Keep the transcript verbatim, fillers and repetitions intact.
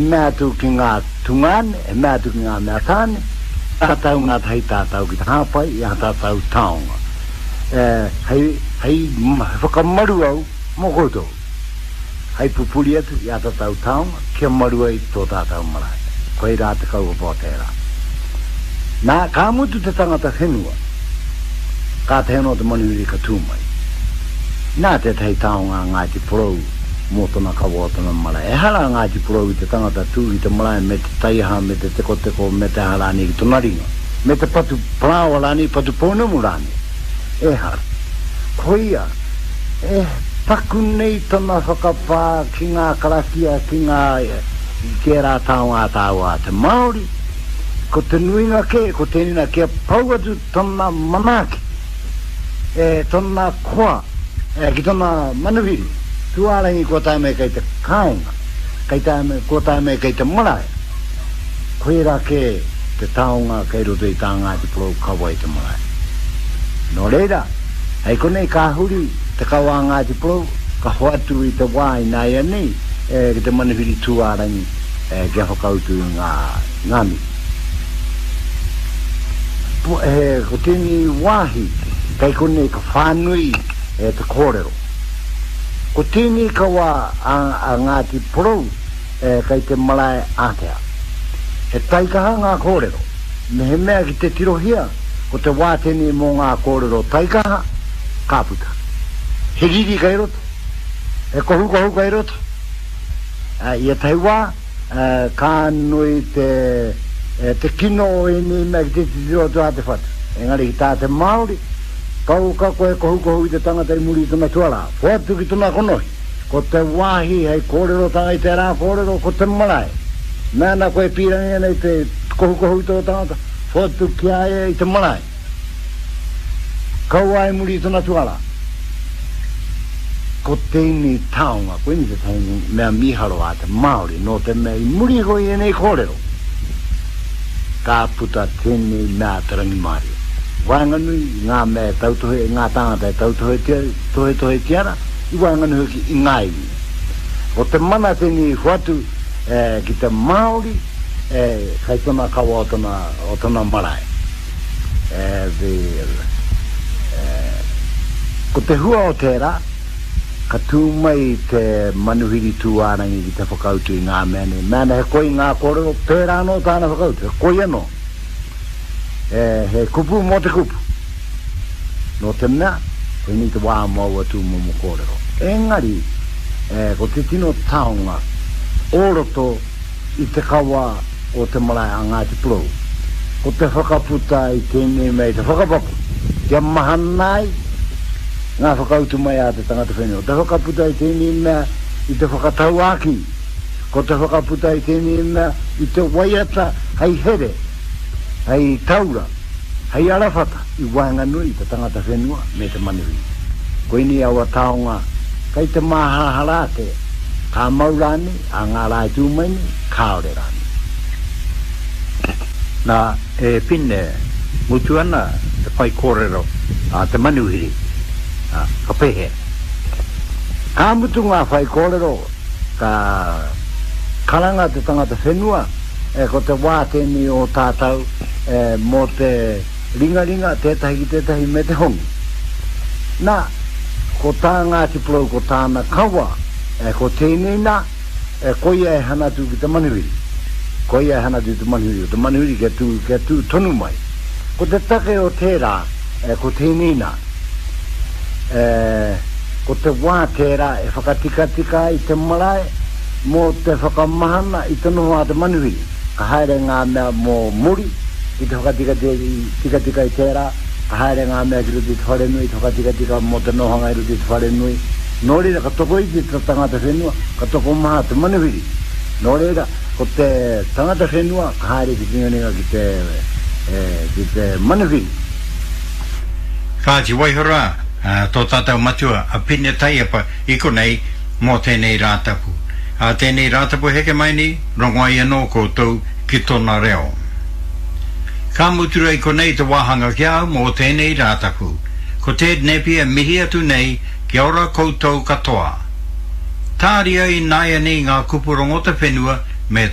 Mea atu ki ngā tungāne, e mea atu ki ngā mea tāne, tātou ngā tahi tātou ki te hāpai i ā tātou taonga. E, hei, hei whakamaru au mō koutou. Hei pupuri atu i ā tātou taonga kia maru ai tō tātou marae. Koirā te kaupapa o tērā. Nā, ka mutu te tangata whenua, kātahi anō te manuhiri ka tū mai. Nā tētahi taonga a Ngāti Porou mō tōna kawa o tōna marae. Ehara a Ngāti Porou i te tangata tū ki te marae me te taiaha, me te tekoteko, me te aha rānei ki tōna ringa, me te patu parāoa rānei, patu pounamu rānei. Ehara. Koia, e paku nei tana whakapā ki ngā karakia, ki ngā, ki ērā taonga a tāua a te Māori, ko te nuinga kē, ko tēnei nā, kia pau atu tana manaaki, e tana koa, e ki tana manuhiri, tūārangi kua tae mai kei te kāinga, kei tae mai, kua tae mai kei te marae. Koirā kē te taonga kei roto i tā Ngāti Porou kawa i te marae. Nō reira, hei konei ka huri te kawa a Ngāti Porou, ka hoatu i te wā ināianei e, ki te manuhiri tūārangi e, kia whakautu i ngā, ngā mihi. E, ko tēnei wāhi kei konei ka whānui e, te kōrero. Ko tēnei kawa a, a Ngāti Porou e, kei te marae ātea. He taikaha ngā kōrero. Mehemea ki te tirohia, ko te wā tēnei mō ngā kōrero taikaha, ka puta. He riri kei roto, he kohukohu kei roto. E, i ētahi wā, e, ka nui te, e, te kino o ēnei mea ki te titiro atu a te whatu. Engari ki tā te Māori, kauka koe kohukohu i te tangata i muri i tona tuarā. Hoatu ki tona konohi. Ko te wāhi hei kōrerotanga i tērā kōrero, ko te marae. Mea ana koe pīrangi ana i te kohukohu i tō tangata, hoatu ki a ia i te marae. Kaua i muri i tona tuarā. Ko tēnei taonga, koinei tētahi mea mīharo a te Māori, nō te mea i muri iho i ēnei kōrero, ka puta tēnei mea te rangimārie. Waenganui i ngā mea e tautohe, i ngā tāngata e tautohetia, tohetohetia ana, i waenganui hoki i ngā iwi. Ko te mana tēnei i hoatu e, ki te Māori, e, kei tona kawa o tona, o tona marae. E, the, e, ko te hua o tērā, ka tū mai te manuhiri tūārangi ki te whakautu i ngā mea nei. Mea ana he koi ngā kōrero, pērā anō tāna whakautu, he koi anō. E, he kupu mō te kupu. Nō te mea, koinei te wā mō aua tūmomo kōrero. Engari, e, ko te tino taonga o roto i te kawa o te marae a Ngāti Porou, ko te whakaputa i tēnei mea i te whakapapa, kia mahana ai ngā whakautu mai a te tangata whenua. Te whakaputa i tēnei mea i te whakatauākī, ko te whakaputa i tēnei mea i te waiata hei here, hei taura, hei arawhata i waenganui i te tangata whenua me te manuhiri. Koinei aua taonga kei te māharahara ake, ka mau rānei, a ngā rā e tū mai nei, kāore rānei. Nā, e Pine, mutu ana te whaikōrero a te manuhiri, a, ka pēhea? Ka mutu ngā whaikōrero, ka karanga te tangata whenua, e, ko te wā tēnei o tātou e, mō te ringaringa, tētahi ki tētahi me te hongi. Nā, ko tā Ngāti Porou, ko tāna kawa, e, ko tēnei nā, e, koia e hanatu ki te manuhiri. Koia e hanatu ki te manuhiri, ko te manuhiri kia tū, kia tū tonu mai. Ko te take o tērā, e, ko tēnei nā, e, ko te wā tērā e whakatikatika ai te marae mō te whakamahana i te noho a te manuhiri. Ka haere ngā mea mō muri ki te whakatikatika i tērā, ka haere ngā mea ki roto i te wharenui, te whakatikatika mō te nohanga i roto i te wharenui. Nō reira, ka tokoiti te tangata whenua, ka tokomaha te manuhiri. Nō reira, ko te tangata whenua ka haere ki te ringaringa ki te, e, ki te manuhiri. Kāti waiho rā, tō tātou matua a Pine Taiapa i konei mō tēnei Rātapu. Ā tēnei Rātapu heke mai nei, rongo ai anō koutou ki tōna reo. Ka mutu rā i konei te wāhanga ki a au mō tēnei Rātapu. Ko Ted Napier mihi atu nei, kia ora koutou katoa. Tāria ināianei ngā kupu rongo te whenua me te